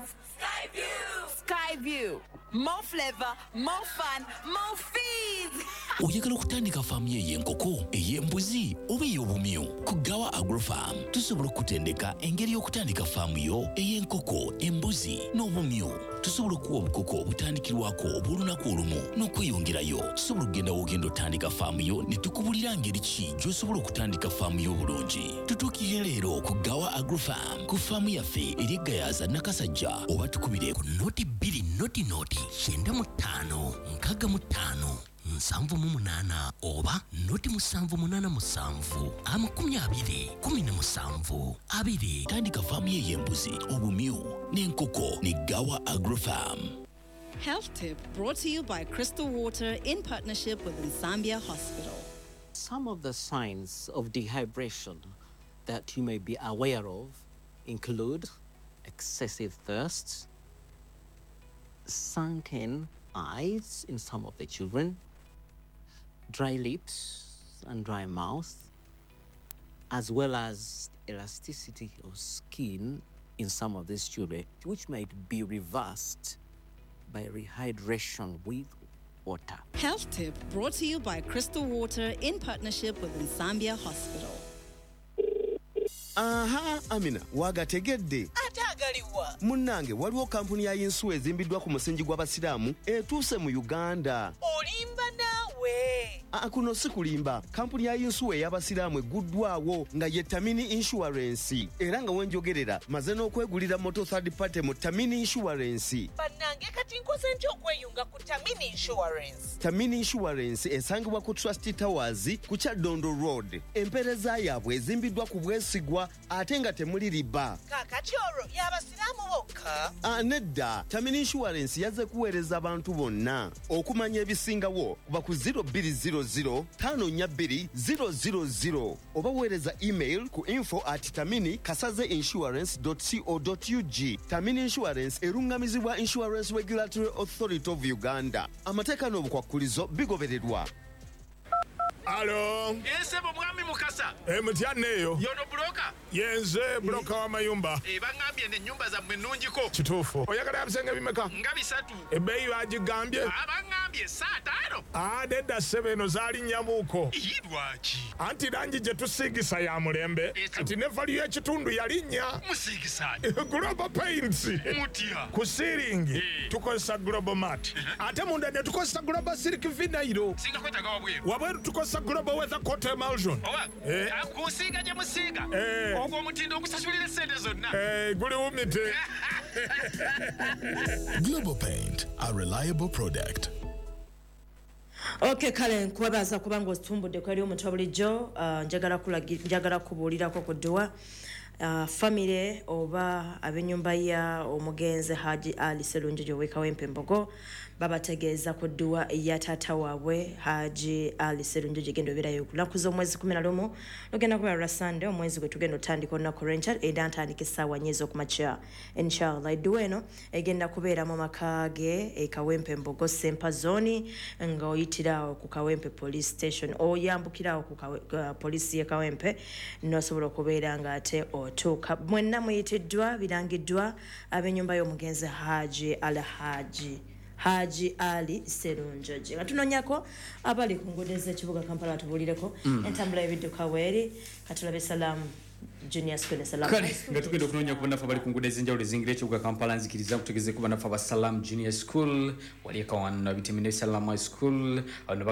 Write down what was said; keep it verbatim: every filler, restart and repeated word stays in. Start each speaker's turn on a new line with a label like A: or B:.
A: Skyview! Skyview. More flavor, more fun, more fees!
B: Oyagala okutandika faamu yo ey'enkoko, ey'embuzi oba ey'obumyu? Ku Gawa Agrofarm tusobola okutendeka engeri y'okutandika faamu yo ey'enkoko, embuzi n'obumyu. Tusobola okuwa obukoko obutandikirwako obw'olunaku olumu n'okweyongerayo. Tusobola okugenda w'ogenda otandika faamu yo ne tukubulira ngeri ki gy'osobola okutandika faamu yo obulungi. Tutuukirire leero ku Gawa Agrofarm ku faamu yaffe eri Gayaza, Nakasajja, oba tukubire
C: ku noti bbiri noti noti kyenda mu ttaano nkaaga mu ttaano nsanvu mu munaana oba noti musanvu munaana musanvu amakumi abiri kumi na musanvu abiri.
B: Tandika faamu ye ey'embuzi, obumyu n'enkoko ne Gawa Agrofarm.
D: Health Tip brought to you by Crystal Water in partnership with Nsambya Hospital.
E: Some of the signs of dehydration that you may be aware of include excessive thirst, sunken eyes in some of the children, dry lips and dry mouth, as well as elasticity of skin in some of these children, which might be reversed by rehydration with water.
D: Health Tip brought to you by Crystal Water in partnership with Nsambya Hospital.
F: Aha, Amina, wagategedde?
G: Ate agaliwa?
F: Munnange, waliwo kampuni ya yinsuwa ezimbiddwa ku musingi gw'Abasiraamu etuuse mu Uganda.
G: Olimba naawe.
F: Aa, kuno si kulimba. Kampuni ya yinsuwa ey'Abasiraamu egguddwawo nga ye Tamini Insurance, era nga wenjogerera maze n'okwegulira moto third party mu Tamini Insurance.
G: Bannange, kati nkoze ntya okweyunga ku Tamini Insurance?
F: Tamini Insurance esangibwa ku Trust Towers ku Kyaddondo Road. Empeereza yaabwe ezimbiddwa ku bwesigwa ate nga temuli riba.
G: Kaakati olwo y'Abasiraamu bokka?
F: Ah, nedda, Tamini Insurance yazze kuweereza abantu bonna. Okumanya ebisingawo kuba ku zero two zero zero five four two zero zero zero oba weereza email ku info at tamini kasaze insurance co ug. Tamini Insurance eruŋŋamizibwa Insurance Regulatory Authority of Uganda. Amateeka n'obukwakkulizo bigobererwa.
H: Alo.
I: Esebo, mwami Mukasa.
H: E, mutya eyo?
I: Yono broker?
H: Yenze broker w'amayumba.
I: E, baŋŋambye n'ennyumba zammwe nnungiko.
H: Kituufu. Oyagala ebisenge bimeka?
I: Nga bisatu.
H: Ebbeeyi bagigambye?
I: Baŋŋambye saataano.
H: Ah, nedda ssebo, eno zaalinnyamuuko.
I: Iyi, lwaki?
H: Anti langi gye tusiigisa ya mulembe. Kati ne value y'ekitundu yalinnya.
I: Musiigisa?
H: Global Paints.
I: Mutya?
H: Ku ceiling tukozesa Global Mat, ate munda ne tukozesa Global Silk Vinyl.
I: Singa kwetaaga wabweru?
H: Wabweru tukozesa Global Weather Coat Emulsion.
I: Oba
H: Eh.
I: kusiiga gye musiiga,
H: Eh.
I: ogwo omutindo ogusasulira essente zonna.
H: Eh, guliwumite.
J: Global Paint, a reliable product.
K: Ok, kale nkwebaza kubanga otumbudde kweri omuntu bulijjo. uh, njagala kulagi- njagala kubuulirako ku dduwa. uh, famire oba ab'ennyumba ya omugenzi Haji Ali Serunjogi ow'e Mbogo babategeeza ku dduwa ya taata waabwe Haji Ali Serunjogi egenda obeerayo ku lunaku z'omwezi kumi na lumu, lugenda kubeera lwa Sande, omwezi gwe tugenda otandika olunaku lw'enkya, era ntandika essaawa nnya ez'okumakya, inshallah. Edduwa eno egenda kubeera mu maka ge e Kawempe Mbogo, Sempa Zone, nga oyitirawo ku Kawempe Police Station, oyambukirawo ku Kawe- uh, poliisi y'e Kawempe n'osobola okubeera nga ate otuuka. Mwenna muyitiddwa, birangiddwa ab'ennyumba y'omugenzi Haji Al Haji Haji Ali Serunjogi. Nga tunoonyako abali ku nguudo ez'ekibuga Kampala batubuulireko
L: Mm.
K: entambula y'ebidduka weeri. Katulabe Salaam Junior School ne Salaam
L: Kale
K: High School.
L: Nga tugenda okunoonya ku bannaffe abali ku nguudo ez'enjawulo ezingira ekibuga Kampala, nzikiriza nkutegeeze ku bannaffe aba Salam Junior School wali ekawana biteme ne Salam High School. Bano